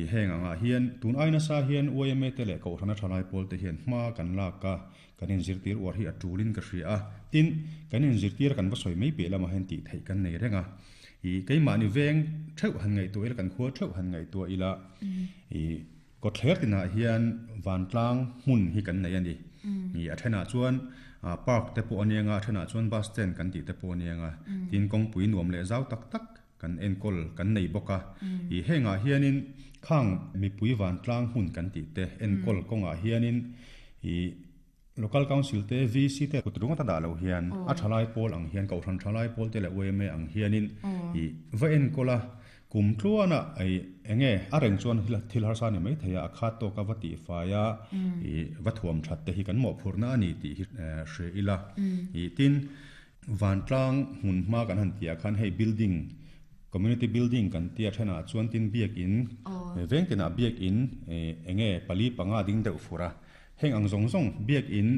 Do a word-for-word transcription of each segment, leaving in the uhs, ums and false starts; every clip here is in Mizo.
I heng anga hian tun aina sa hian Y M A te leh kohhrana thalai pawl te hian hma kan lak a, kan inzirtir uar hi a tulin ka hria a. Tin, kan inzirtir kan va sawi mai piah lamah hian tih theih kan nei reng a. I keimahni veng theuh han ngaihtuah ila, kan khua theuh han ngaihtuah ila, i kawtthler tinah hian vantlang hmun hi kan nei a ni. I a thenah chuan park te pawh a nia nga, a thenah chuan bus stand kan tih te pawh a nia nga. Tin, kawngpui nuam leh zau tak tak kan enkawl kan nei bawk a. I hengah hianin khang mipui vantlang hmun kan tih te enkawl kawngah hianin i local council te, V C te kut ringa ta dah lo hian a thalai pawl ang hian, kohhran thalai pawl te leh Y M A ang hianin i va enkawl a, kum tluana ai enge a reng chuan thil harsa ni mai thei a, a khat tawk a va tih fai a, i va thuam that te hi kan mawhphurhna ani tih hi hre ila. I tin, vantlang hmun hma kan han tia khan hei building, community building kan tia thenah chuan, tin biak in veng tinah biak in enge pali panga ding deuh fura. Heng ang zawng zawng biak in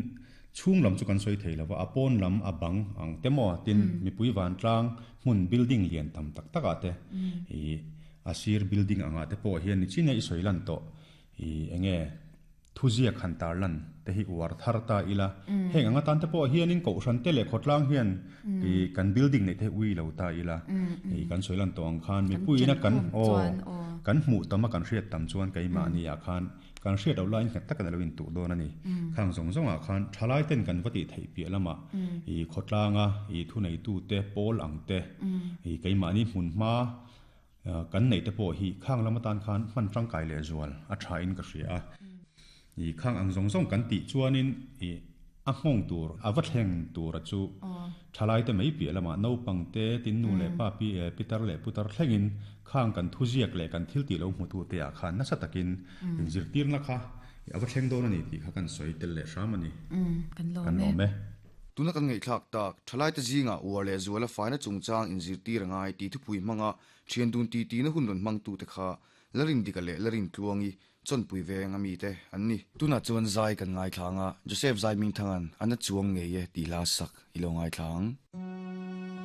chhung lam chu kan sawi thei lova, a pawn lam a bang ang te maw, tin mipui vantlang hmun building lian tam tak tak ah te, i a sir building anga te pawh hian ni china i sawi lan tawh i enge thuziak han tar lan te hi uar thar ta ila. Heng anga tan te pawh hianin kohhran te leh khawtlang hian i kan building nei te ui lo ta ila. I kan sawi lan tawh ang khan mipuina kan aw kan hmuh tam a, kan hriat tam chuan keimahni ah khan kan hriat lo laiin nghet tak an lo in tuh dawn ani. Khang zawng zawng ah khan thalai ten kan va tih theih piah lama i khawtlanga i thu nei tu te pawl ang te, i keimahni hmun hma kan nei te pawh hi khang lama tan khan hman tangkai leh zual a tha in ka hria a. I khang ang zawng zawng kan tih chuanin i a nghawng tur a va thleng tur a chu thalai te mai piah lama naupang te, tin nu leh pa, pi pitar leh putar thlengin khang kan thuziak leh kan thil tih lo hmu tu te ah khan nasa takin inzirtirna kha a va thleng dawn ani tih kha kan sawi tel leh hram ani. Kan kan lawm lawm e. Tuna kan ngaihthlak tak, thalai te zinga uar leh zuala faina chungchang inzirtir angai ti thupui hmanga thian dun ti ti na hun rawn hmang tu te kha Larin Dika leh Larin Tluangi, Chawnpui veng ami te an ni. Tuna chuan zai kan ngai thlanga Joseph Zai Ming Thangan ana chuang ngei e ti hla sak ilo ngai thlang.